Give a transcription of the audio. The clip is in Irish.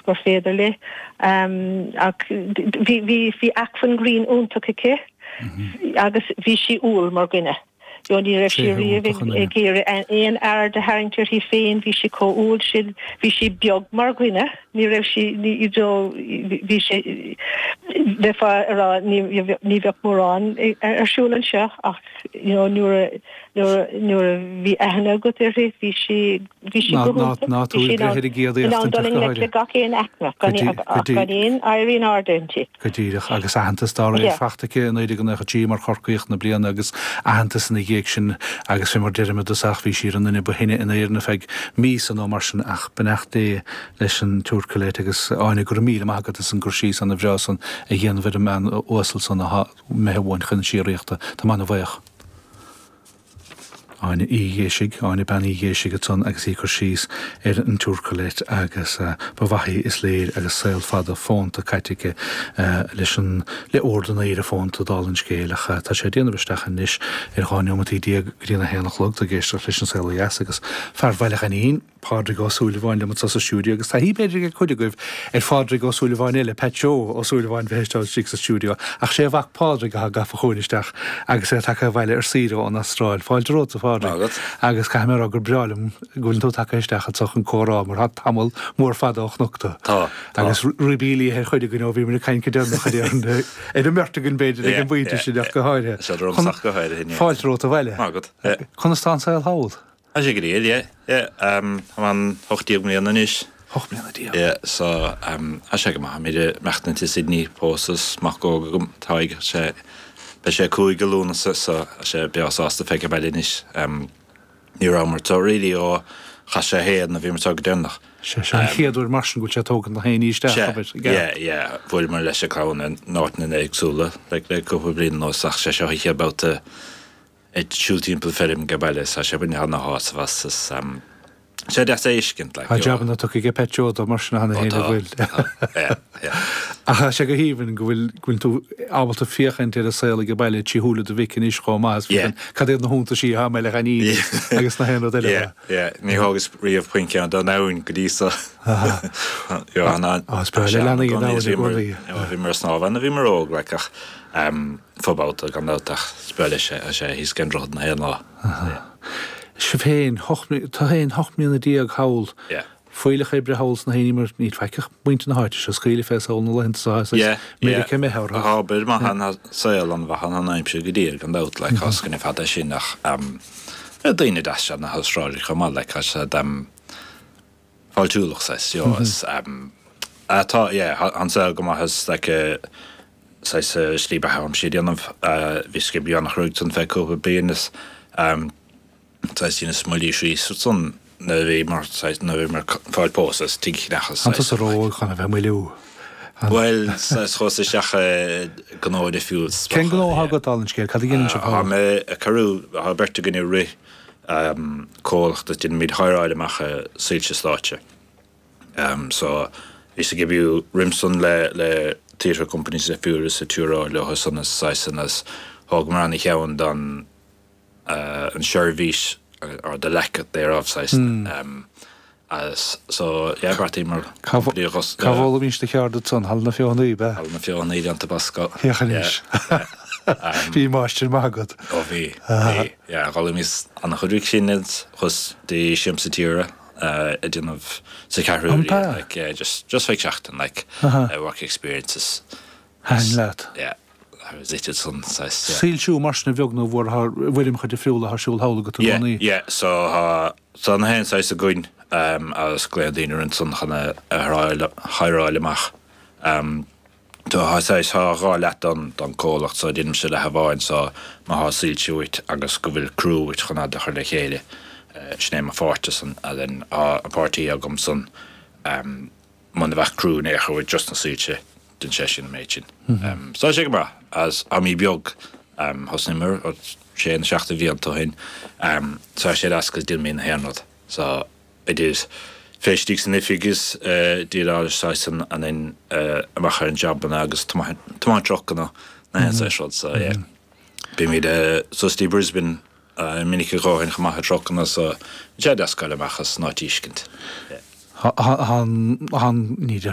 gur féidir léi. Ach bhí, bhí, bhí acmhainn grinn iontach aici agus bhí sí umhal mar dhuine. You know, ní raibh sí riamh ag iarraidh aon aird a tharraingt uirthi féin, bhí sí chomh umhal sin, bhí sí beag mar dhuine, ní raibh sí, you know, bhí sé, bheifeá ag rá ní, ní bheadh mórán ar siúl anseo ach, you know, nuair a, nuair a, nuair a bhí aithne agat uirthi, bhí sí, bhí sí go hiontach, Ná bhí tú sí ag in ann, breith ar an gcéad in ann éachtaint dul ach i go ngleic le háirithe. gach aon aicme, gan, ach gan aon éirí in airde inti. Go díreach, agus aitheantas dá réir Yeah. fachta aici i 1993 mar Chorcaíoch na Bliana agus aitheantas ina dhiaidh sin agus fé mar deirim i dtosach bhí sí ar an nduine ba shine in Éirinn ar feadh míosa nó mar sin ach beannacht Dé leis an tSiúr Colette agus Áine go raibh míle maith agat as an gcur síos ana bhreá san a dhéanamh ar an mbean uasal san atá imithe uainn chun na síoraíochta. Tá mé ana bhuíoch. Áine Uí Ghéisigh, Áine Bean Uí Ghéisigh ansan agus í ag cur síos ar an tSiúr Colette agus ba mhaith í is léir agus saol fada fónta caite aici leis an, le Ord an Aoire Fónta dála an scéil ach tá sé ag déanamh isteach anois ar 12 neomataí go dtí an 1 a chlog, tú ag éisteacht leis An Saol Ó Dheas agus fear Bhaile Ghainín. Pádraig Ó Súilleabháin liom anso sa stiúideo agus taithí b'fhéidir ag cuid agaibh ar Phádraig Ó Súilleabháin eile, Pat Joe Ó Súilleabháin bheith istigh sa stiúideo ach sé a mhac Pádraig atá gafa chugainn isteach agus é tagtha abhaile ar saoire ón Astráil. Fáilte romhat a Phádraig. Maith agat. Agus caithfidh mé a rá gur breá liom go bhfuileann tú tagtha isteach anso chun comhrá mar tá tamall mór fada ó chonac tú. Tá, tá. Agus ribí liatha ar chuid againn ó bhíomar ag caint go deireanach ar an ar an mbeirt againn b'fhéidir ag an bpointe sin ach go háirithe. Tá sé romham ach go háirithe. Fáilte romhat abhaile. Maith agat. Conas tá an saol thall? Tá sé go diail, yeah, yeah. Tá mé ann 18 mbliana anois. 18 mbliana. Yeah, so tá sé go maith. Táimid ag maireachtaint i Sydney, pósta is mac óg agam, Tadhg, sé, beidh sé 5 i Lúnasa so tá sé breá sásta feicthe baile anois. Ní rabhamar anseo really ó chaith sé a haon a bhíomar anseo go deireanach. Sé seo an chéad uair mar sin go bhfuil sé ag tógaint na haonaí isteach, Sea, abair, i gceart. yeah, yeah. Bhuaileamar leis an clann in áiteanna éagsúla like le cúpla bliain anuas ach sé seo an chéad babhta ag siúl timpeall feirm ag baile is tá sé ag baint ana-shásamh as is sé deas é a fheiscint like Tá jabanna tugtha aige Pat Joe dó mar sin cheana Ó féin tá, a bhfuil. tá, yeah, yeah. Ach tá sé go haoibhinn go bhfuil, go bhfuil tú ábalta féachaint ar an saol ag baile trí shúile do mhic anois chomh maith is Yeah. féachaint cad iad na hiontaisí atá i mBaile Ghainín Yeah. agus na haon rud eile. Yeah, yeah. Ní thógas riamh puinn ceann don abhainn go dtí so. Yo, an, an, Á, is breá le leanaí an abhainn i gcónaí. Bhíomar ag snámh ann nuair a bhíomar óg like ach fo-bhabhta gan dabht ach is breá leis é, sé thíos ag an droichead na haon lá. Sibh féin, tú féin 18 mbliana thall, Yeah. fuílleach oibre thall sna haonaí mar níl faic ach muintir na háite seo ag scaoileadh fé thall na laethanta seo is Yeah, yeah. Meiriceá imithe orthu. Tá obair maith ann, tá saol an-mhaith ann, an aimsir go diail gan dabht, like, tá scoineadh fada sin ach daoine deasa na hAstrálaigh chomh maith, like, tá siad fáiltiúlach saghas, you know, is tá, yeah, tá an saol go maith is like saghas slí beatha aimsir a dhéanamh, bhíos ag oibriú an-chruaidh ansan feadh cúpla bliain is saghas dheineas moilliú síos ansan nuair a bhí mar saghas nuair a bhí mar fáil pósta is tigh a cheannach is An saghas tusa ró-óg chun a bheith ag moilliú? Bhuel, saghas chuas isteach i gnó difriúil is Cén gnó atá agat dála an scéil? Cad a dhéanann sibh Tá thall? mé ag cabhrú, tá beirt againn ag rith comhlacht is déanaimid hireáil amach soilse stáitse. So bhíos ag oibriú roimh san le le theatre companies difriúla is ag tiúráil leo san is saghas is thógamar ana-cheann don an seirbhís or the lack thereof saghas agus so yeah bheartaíomar Cá bhfoghlaimís do cheird ansan? Halla na Feothanaí, ab ea? Halla na Feothanaí déanta basca. Féach anois. Bhí máistir maith agat. Ó bhí, bhí, yeah. D'fhoghlaimíos an-chuid uaidh sin is chuas dtí Siamsa Tíre ag déanamh sa Cheathrú Rua, like, yeah, just, just feadh seachtain, like, work experience is. Thaitin leat? Yeah, I was it san, saghas, yeah. Soilsiú mar sin a bheag nó a mhór i bhfoirmeacha difriúla atá ar siúl thall agat i Yeah, gcónaí. yeah, so tá, tá na haon saghas againn agus glaonn daoine orainn ansan chun a hireáil amach. Tá saghas, tá dhá leath don, don comhlacht so déanaimse leath amháin so má thá soilse uait agus go bhfuil crew uait chun iad a chur le chéile, sin é mo pháirt san and then tá an páirtí agam san muna bheadh crew in aon chor uait just na soilse, déanann sé sin an méid sin. So tá sé go maith as táimid beag, thosnaíomar sé nó seacht de bhlianta ó shin, so tá sé deas 'cause déanaimid na haon rud so idir feistigh san oifig is déileáil saghas an an amach ar an jabanna agus tiomáint trucanna na haon saghas rud so yeah. Bímid suas dtí Brisbane minic a dhóthain chomh maith i trucanna so tá sé deas goil amach as an áit a fheiscint. Tá an, ní déarfaidh.